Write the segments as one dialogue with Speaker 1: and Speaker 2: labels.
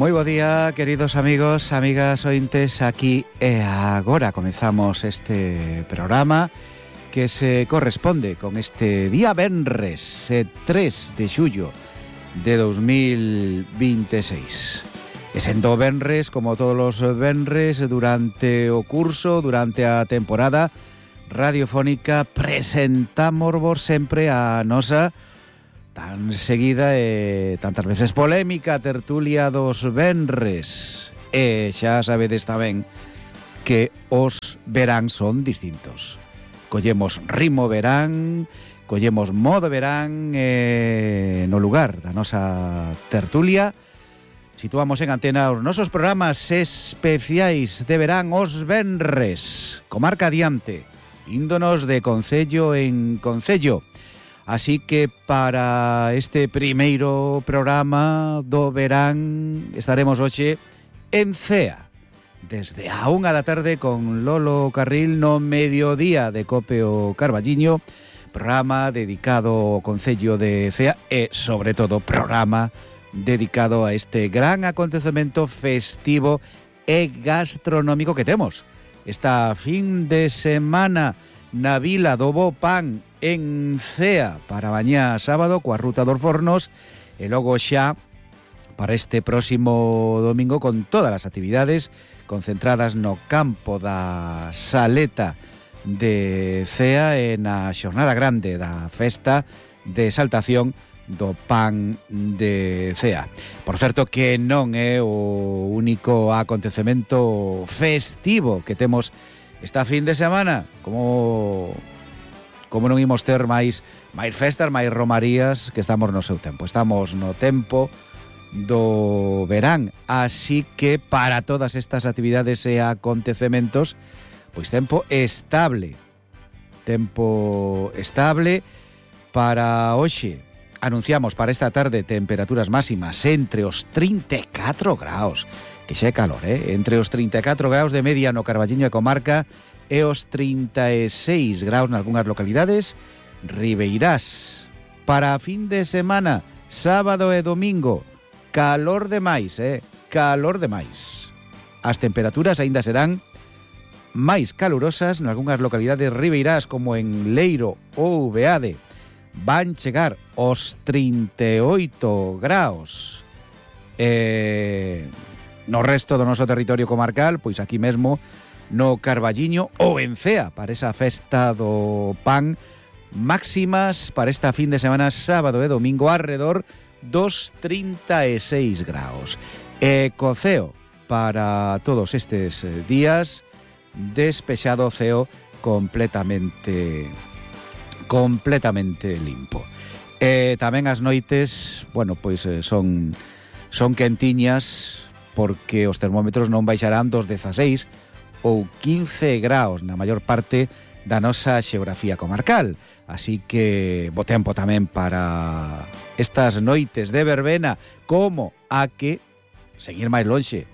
Speaker 1: Moi bo día, queridos amigos, amigas ointes. Aquí e agora comezamos este programa que se corresponde con este día venres 3 de xullo de 2026. E sendo venres, como todos os venres, durante o curso, durante a temporada radiofónica, presentámosvos sempre a nosa tan seguida e tantas veces polémica tertulia dos venres. E xa sabedes tamén que os verán son distintos. Collemos ritmo verán, collemos modo verán, no lugar da nosa tertulia situamos en antena os nosos programas especiais de verán os venres, comarca adiante, índonos de concello en concello. Así que para este primeiro programa do verán estaremos hoxe en Cea, desde a 1 da tarde con Lolo Carril no mediodía de Cope o Carballiño, programa dedicado ao concello de Cea e, sobre todo, programa dedicado a este gran acontecemento festivo e gastronómico que temos esta fin de semana na Vila do Bo Pan en Cea para mañá sábado coa Ruta dos Fornos e logo xa para este próximo domingo con todas as actividades concentradas no campo da Saleta de Cea e na xornada grande da festa de exaltación do pan de Cea. Por certo que non é o único acontecemento festivo que temos esta fin de semana, como non imos ter máis festas, máis romarías, que estamos no seu tempo. Estamos no tempo do verán, así que para todas estas actividades e acontecementos, pois tempo estable para hoxe. Anunciamos para esta tarde temperaturas máximas entre os 34 graus, que xa é calor, entre os 34 graus de media no Carballiño e comarca e os 36 graus nalgúnas localidades ribeirás. Para a fin de semana, sábado e domingo, calor demais, calor demais. As temperaturas aínda serán máis calurosas nalgúnas localidades ribeirás como en Leiro ou Beade. Van chegar os 38 graus. No resto do noso territorio comarcal, pois aquí mesmo no Carballiño ou en Cea, para esa festa do pan, máximas para esta fin de semana sábado e domingo alrededor dos 36 graus. E co ceo para todos estes días despexado, ceo completamente limpo. E tamén as noites, bueno, pois son quentiñas porque os termómetros non baixarán dos 16 ou 15 graus na maior parte da nosa xeografía comarcal. Así que bo tempo tamén para estas noites de verbena, como a que, seguir máis lonxe,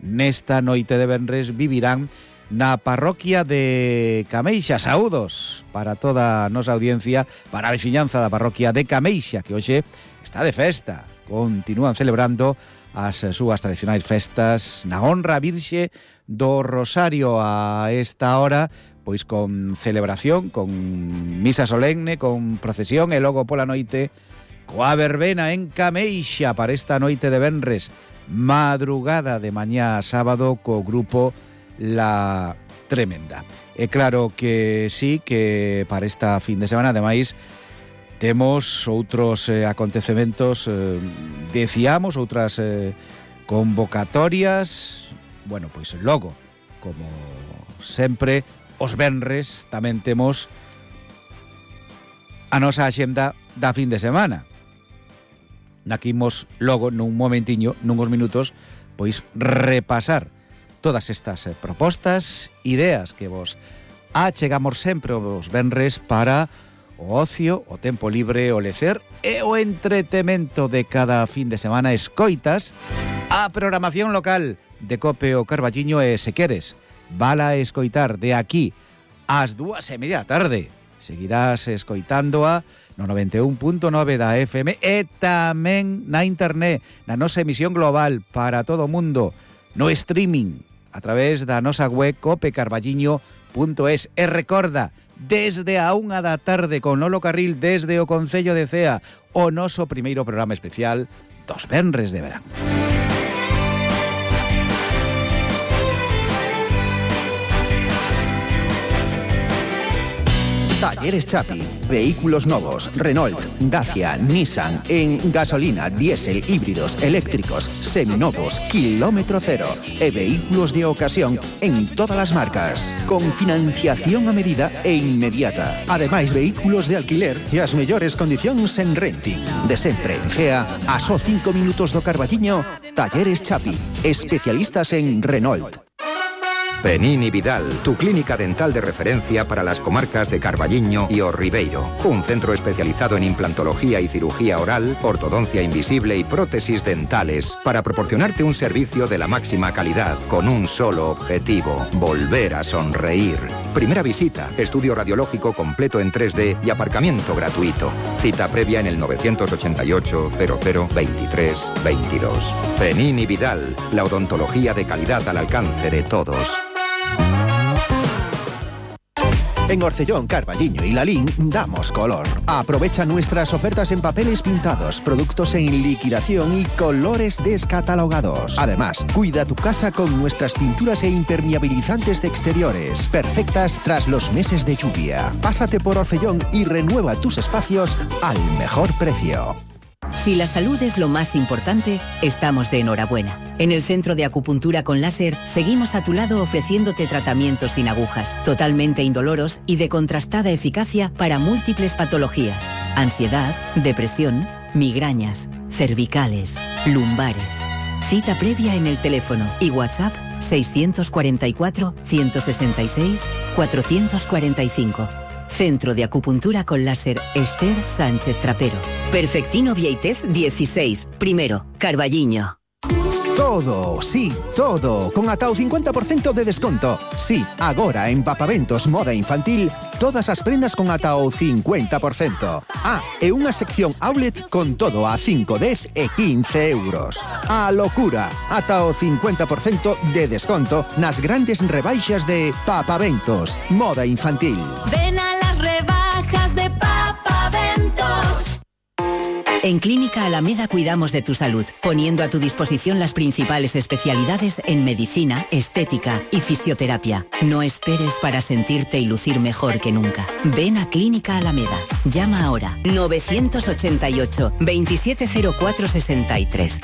Speaker 1: nesta noite de venres vivirán na parroquia de Cameixa. Saúdos para toda a nosa audiencia, para a veciñanza da parroquia de Cameixa, que hoxe está de festa. Continúan celebrando as súas tradicionais festas na honra Virxe do Rosario a esta hora, pois con celebración, con misa solemne, con procesión e logo pola noite coa verbena en Cameixa para esta noite de venres, madrugada de mañá sábado co grupo La Tremenda. É claro que sí, que para esta fin de semana ademais temos outros acontecementos, decíamos, outras convocatorias. Bueno, pois logo, como sempre, os venres tamén temos a nosa axenda da fin de semana. Naquimos logo nun momentiño, nunhos minutos, pois repasar todas estas propostas, ideas que vos achegamos sempre os venres para o ocio, o tempo libre, o lecer e o entretemento de cada fin de semana. Escoitas a programación local de Cope o Carballiño e, se queres, vala escoitar de aquí ás 2:30 da tarde. Seguirás escoitándoa no 91.9 da FM e tamén na internet, na nosa emisión global para todo o mundo, no streaming, a través da nosa web copecarballiño.es. E recorda, desde a 1 da tarde con Lolo Carril desde o Concello de Cea, o noso primeiro programa especial dos venres de verán.
Speaker 2: Talleres Chapi, vehículos novos, Renault, Dacia, Nissan, en gasolina, diésel, híbridos, eléctricos, seminovos, kilómetro cero e vehículos de ocasión en todas as marcas, con financiación a medida e inmediata. Ademais, vehículos de alquiler e as mellores condicións en renting. De sempre en Cea, a só 5 minutos do Carballiño, Talleres Chapi, especialistas en Renault.
Speaker 3: Penín y Vidal, tu clínica dental de referencia para las comarcas de Carballiño y O Ribeiro. Un centro especializado en implantología y cirugía oral, ortodoncia invisible y prótesis dentales, para proporcionarte un servicio de la máxima calidad, con un solo objetivo: volver a sonreír. Primera visita, estudio radiológico completo en 3D y aparcamiento gratuito. Cita previa en el 988 00 23 22. Penín y Vidal, la odontología de calidad al alcance de todos.
Speaker 2: En Orcellón, Carballiño y Lalín damos color. Aprovecha nuestras ofertas en papeles pintados, productos en liquidación y colores descatalogados. Además, cuida tu casa con nuestras pinturas e impermeabilizantes de exteriores, perfectas tras los meses de lluvia. Pásate por Orcellón y renueva tus espacios al mejor precio.
Speaker 4: Si la salud es lo más importante, estamos de enhorabuena. En el Centro de Acupuntura con Láser seguimos a tu lado ofreciéndote tratamientos sin agujas, totalmente indoloros y de contrastada eficacia para múltiples patologías: ansiedad, depresión, migrañas, cervicales, lumbares. Cita previa en el teléfono y WhatsApp 644 166 445. Centro de Acupuntura con Láser Esther Sánchez Trapero. Perfectino Vieitez 16, primero, Carballiño.
Speaker 2: Todo, sí, todo, con ata o 50% de desconto. Sí, agora en Papaventos Moda Infantil, todas as prendas con ata o 50%. E unha sección outlet con todo a 5, 10 e 15 euros. A locura, ata o 50% de desconto nas grandes rebaixas de Papaventos Moda Infantil.
Speaker 5: Ven a las rebajas de Papaventos.
Speaker 4: En Clínica Alameda cuidamos de tu salud, poniendo a tu disposición las principales especialidades en medicina, estética y fisioterapia. No esperes para sentirte y lucir mejor que nunca. Ven a Clínica Alameda. Llama ahora 988 270463.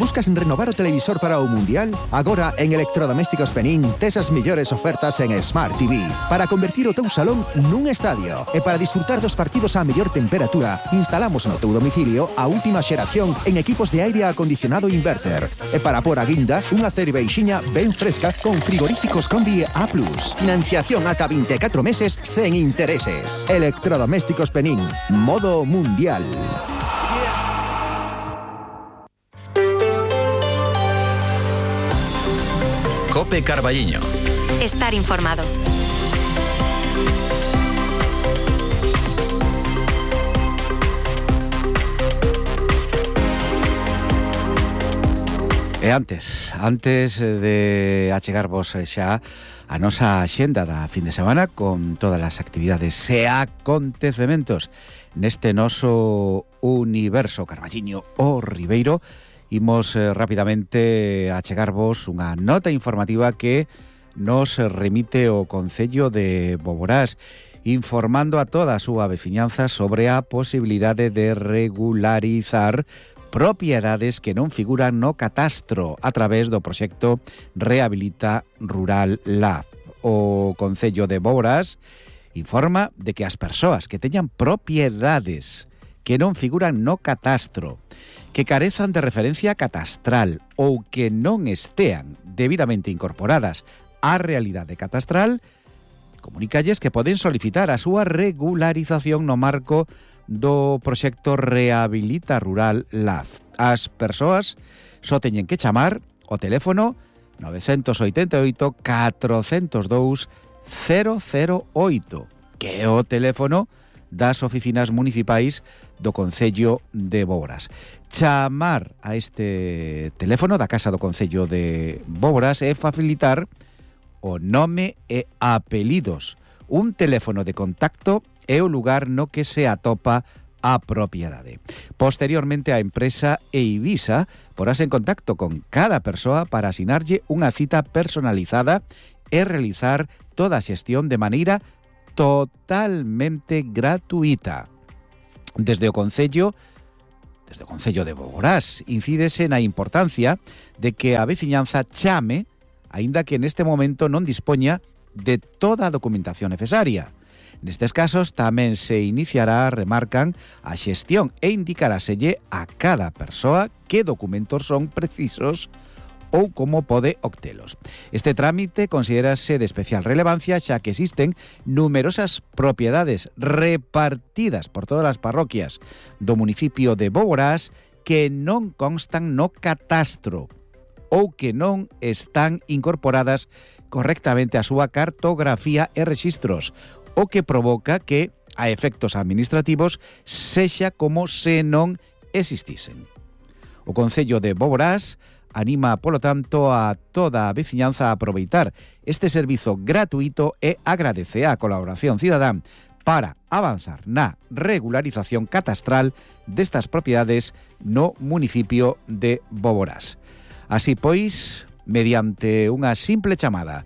Speaker 2: Buscas renovar o televisor para o Mundial? Agora en Electrodomésticos Penín tes as mellores ofertas en Smart TV para convertir o teu salón nun estadio. E para disfrutar dos partidos á mellor temperatura, instalamos no teu domicilio a última xeración en equipos de aire acondicionado inverter. E para por a guinda, unha cerveixiña ben fresca con frigoríficos Combi A+. Financiación ata 24 meses sen intereses. Electrodomésticos Penín, modo mundial.
Speaker 6: Cope Carballiño.
Speaker 5: Estar informado.
Speaker 1: E antes de achegarvos xa a nosa axenda da fin de semana con todas as actividades e acontecementos neste noso universo Carballiño o Ribeiro, imos rapidamente achegarvos unha nota informativa que nos remite o Concello de Boborás, informando a toda a súa veciñanza sobre a posibilidade de regularizar propiedades que non figuran no catastro a través do proxecto Rehabilita Rural Lab. O Concello de Boborás informa de que as persoas que teñan propiedades que non figuran no catastro, que carezan de referencia catastral ou que non estean debidamente incorporadas á realidade catastral, comunícalles que poden solicitar a súa regularización no marco do proxecto Rehabilita Rural Lab. As persoas só teñen que chamar o teléfono 988 402 008, que é o teléfono das oficinas municipais do Concello de Boborás. Chamar a este teléfono da Casa do Concello de Boborás é facilitar o nome e apelidos. Un teléfono de contacto é o lugar no que se atopa a propiedade. Posteriormente, a empresa Eivisa porás en contacto con cada persoa para asinarlle unha cita personalizada e realizar toda a xestión de maneira totalmente gratuita. Desde o Concello de Boborás incídese na importancia de que a veciñanza chame, aínda que neste momento non dispoña de toda a documentación necesaria. Nestes casos tamén se iniciará, remarcan, a xestión e indicaráselle a cada persoa que documentos son precisos ou como pode obtelos. Este trámite considérase de especial relevancia xa que existen numerosas propiedades repartidas por todas as parroquias do municipio de Boborás que non constan no catastro ou que non están incorporadas correctamente a súa cartografía e rexistros, o que provoca que, a efectos administrativos, sexa como se non existisen. O Concello de Boborás anima, polo tanto, a toda a veciñanza a aproveitar este servizo gratuito e agradece a colaboración cidadán para avanzar na regularización catastral destas propiedades no municipio de Boborás. Así pois, mediante unha simple chamada,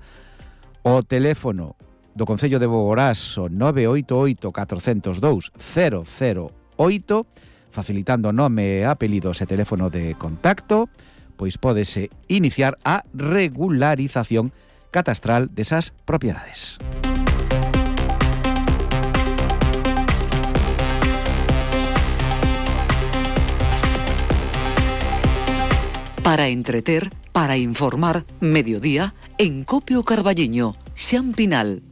Speaker 1: o teléfono do Concello de Boborás, o 988 402 008, facilitando nome, apelidos e teléfono de contacto, pois pódese iniciar a regularización catastral desas propiedades.
Speaker 7: Para entreter, para informar, mediodía, en Copio Carballiño, Xan Pinal.